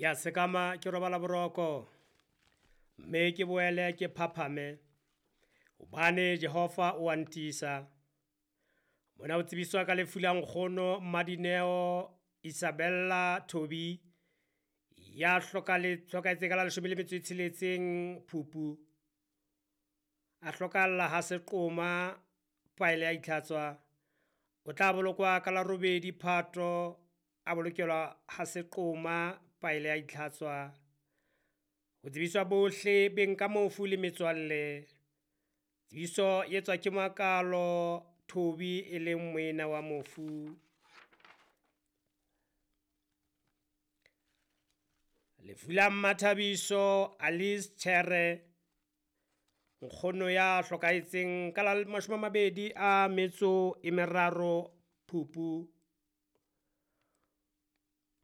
Ke a sekama ke robala boroko, mme ke boele ke phaphame, hobane Jehova o a ntiisa. Mona o tsebiswa ka lefu la nkgono Mmadineo Isabella Thobi ya hlokahetseng ka la 16 Phupu. A hlokahalla ha Seqoma paele ya itlhatswa. O tla bolokwa ka la 8 Phato, a bolokelwa ha Seqoma paele ya itlhatswa. Ho tsebiswa bohle beng ka mofu le metswalle. Tsebiso e etswa ke Makalo Thobi e leng moena wa mofu. Lefu la Mmathabiso Alice Chere, nkgono ya hlokahetseng ka la 23 Phupu.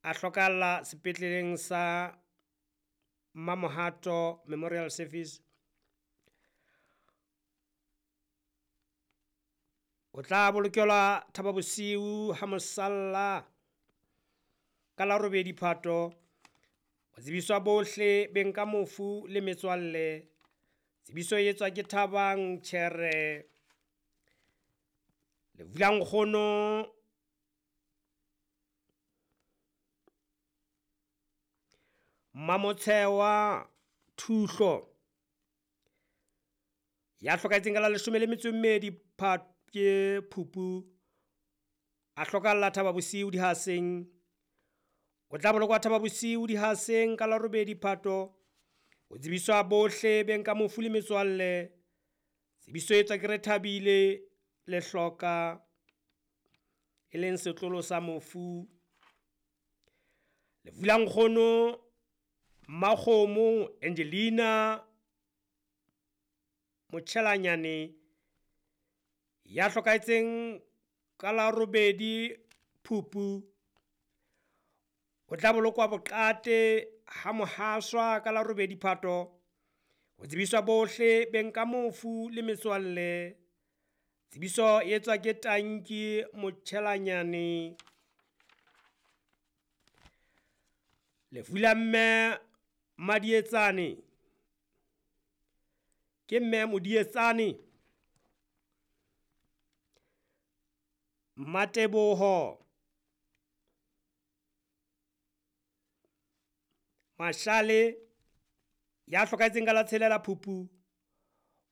A hlokahalla sepetleleng sa Mamohato Memorial Service. O tla bolokelwa Thaba Bosiu ha mosalla ka la 8 Phato. Ho tsebiswa bohle beng ka mofu le metswalle. Tsebiso e etswa ke Thabang Chere. Lefu la nkgono Mmamotshewa Thuhlo ya hlokahetseng ka la 12 ke Phupu. A hlokahalla Thaba Bosiu Dihaseng. O tla bolokwa Thaba Bosiu Dihaseng ka la 8 Phato. Ho tsebiswa bohle beng ka mofu le metswalle. Tsebiso e etswa ke Rethabile Lehloka e leng setlolo sa mofu. Lefu la nkgono Mmakgomo Angelina Motjhelanyane ya hlokahetseng ka la 8 Phupu. O tla bolokwa Boqate ha Mohaswa ka la 8 Phato. Ho tsebiswa bohle beng ka mofu le metswalle. Tsebiso e etswa ke Tanki Motjhelanyane. Lefu la mme Madietsane ke mme Modietsane Mmateboho Mashale ya hlokahetseng ka la 6 Phupu.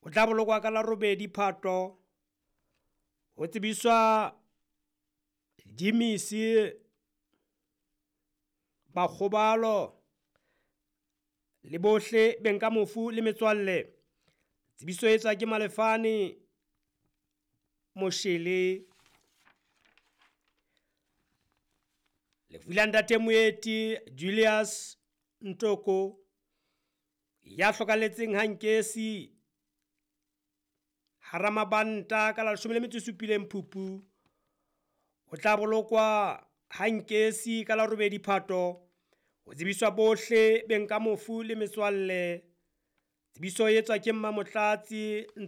O tla bolokwa ka la 8 Phato. Ho tsebiswa Jimisi Bakgobalo le bohle beng ka mofu le metswalle. Tsebiso e etswa ke Malefane Moshele. Lefu la ntate Moeti Julius Ntoko ya hlokahalletseng ha Nkesi hara mabanta ka la 17 Phupu. O tla bolokwa ha Nkesi ka la 8 Phato. Ho tsebiswa bohle beng ka mofu le metswalle. Tsebiso e etswa ke Mmamotlatsi.